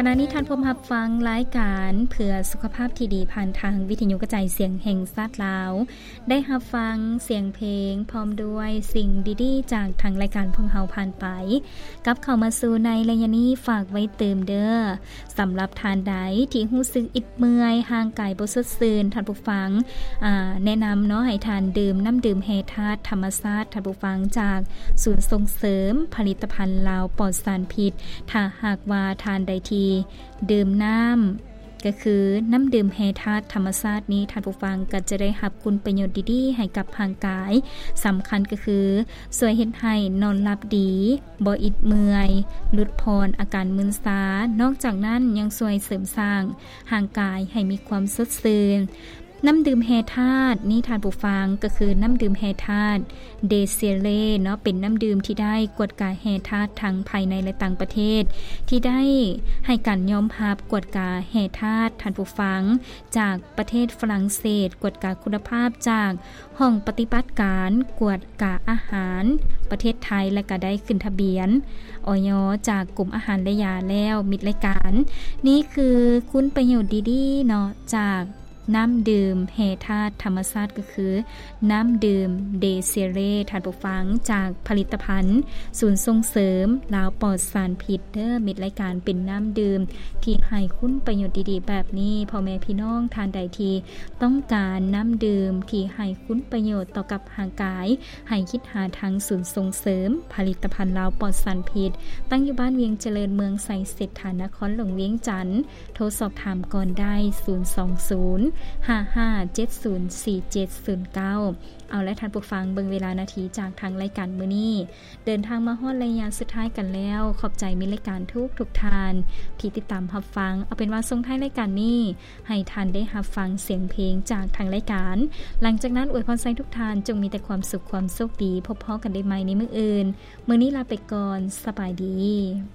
ຂະນະນີ້ທ່ານພົມຮັບຟັງລາຍການເພື່ອສຸຂະພາບທີ່ດີ ຜ່ານທາງວິທະຍຸກະຈາຍສຽງແຫ່ງຊາດລາວ, ໄດ້ຮັບຟັງສຽງເພງ ພ້ອມດ້ວຍສິ່ງດີໆຈາກທາງລາຍການພວກເຮົາຜ່ານໄປ. ກັບເຂົ້າມາສູ່ໃນໄລຍະນີ້ ຝາກໄວ້ຕື່ມເດີ້. ສຳລັບທ່ານໃດທີ່ຮູ້ສຶກອິດເມື່ອຍ, ຮ່າງກາຍບໍ່ສົດຊື່ນ, ທ່ານຜູ້ຟັງ ອາ ແນະນຳເນາະ ໃຫ້ທ່ານດື່ມນ້ຳດື່ມແຮ່ທາດທຳມະຊາດ, ທ່ານຜູ້ຟັງ, ຈາກສູນສົ່ງເສີມຜະລິດຕະພັນລາວປອດສານພິດ. ຖ້າຫາກວ່າທ່ານໃດທີ່ດື່ມນ້ຳ ກໍຄືນ້ຳດື່ມແຮ່ທາດທຳມະຊາດນີ້, ທ່ານຜູ້ຟັງກໍຈະໄດ້ຮັບຄຸນປະໂຫຍດດີໆໃຫ້ກັບຮ່າງກາຍ. ສຳຄັນກໍຄືຊ່ວຍເຮັດໃຫ້ນອນຫຼັບດີ, ບໍ່ອິດເມື່ອຍ, ຫຼຸດຜ່ອນອາການມຶນຊາ. ນອກຈາກນັ້ນຍັງຊ່ວຍເສີມສ້າງຮ່າງກາຍໃຫ້ມີຄວາມສົດຊື່ນ. ນ້ຳດື່ມແຮ່ທາດນີ້, ທ່ານຜູ້ຟັງ, ກໍຄືນ້ຳດື່ມແຮ່ທາດ ເດເຊເລເນາະ, ເປັນນ້ຳດື່ມທີ່ໄດ້ກວດກາແຮ່ທາດທັງພາຍໃນ ແລະ ຕ່າງປະເທດ ທີ່ໄດ້ໃຫ້ການຍອມຮັບກວດກາແຮ່ທາດ, ທ່ານຜູ້ຟັງ, ຈາກປະເທດຝຣັ່ງເສດ, ກວດກາຄຸນນະພາບຈາກຫ້ອງປະຕິບັດການກວດກາອາຫານປະເທດໄທ ແລະ ກະໄດ້ຂຶ້ນທະບຽນ ອອຍ ຈາກກົມອາຫານ ແລະ ຢາແລ້ວ. ມິດລາຍການ, ນີ້ຄືຄຸນປະໂຫຍດດີໆເນາະ ຈາກ ນ້ຳດື່ມແຮ່ທາດທຳມະຊາດ ກໍຄືນ້ຳດື່ມເດເຊເລ ທ່ານຜູ້ຟັງ, ຈາກຜະລິດຕະພັນສູນສົ່ງເສີມລາວປອດສານພິດເດີ້. ມິດລາຍການເປັນນ້ຳດື່ມທີ່ໃຫ້ຄຸນປະໂຫຍດດີໆແບບນີ້. ພໍ່ແມ່ພີ່ນ້ອງທ່ານໃດທີ່ຕ້ອງການນ້ຳດື່ມທີ່ໃຫ້ຄຸນປະໂຫຍດຕໍ່ກັບຮ່າງກາຍ, ໃຫ້ຄິດຫາທາງສູນສົ່ງເສີມຜະລິດຕະພັນລາວປອດສານພິດ, ຕັ້ງຢູ່ບ້ານວຽງຈະເລີນ, ເມືອງໄຊເສດຖາ, ນະຄອນຫຼວງວຽງຈັນ. ໂທສອບຖາມກ່ອນໄດ້ ສູນສອງສູນ ຫ້າຫ້າເຈັດສູນ ສີ່ເຈັດສູນເກົ້າ. ເອົາລະທ່ານຜູ້ຟັງ, ເບິ່ງເວລານາທີຈາກທາງລາຍການມື້ນີ້ ເດີນທາງມາຮອດໄລຍະສຸດທ້າຍກັນແລ້ວ. ຂອບໃຈມິດລາຍການທຸກໆທ່ານທີ່ຕິດຕາມຮັບຟັງ. ເອົາເປັນວ່າສົ່ງທ້າຍລາຍການນີ້ ໃຫ້ທ່ານໄດ້ຮັບຟັງສຽງເພງຈາກທາງລາຍການ. ຫຼັງຈາກນັ້ນອວຍພອນໃຫ້ທຸກທ່ານຈົ່ງມີແຕ່ຄວາມສຸກຄວາມໂຊກດີ. ພົບພໍ້ກັນໄດ້ໃໝ່ໃນມື້ອື່ນ. ມື້ນີ້ລາໄປກ່ອນ. ສະບາຍດີ.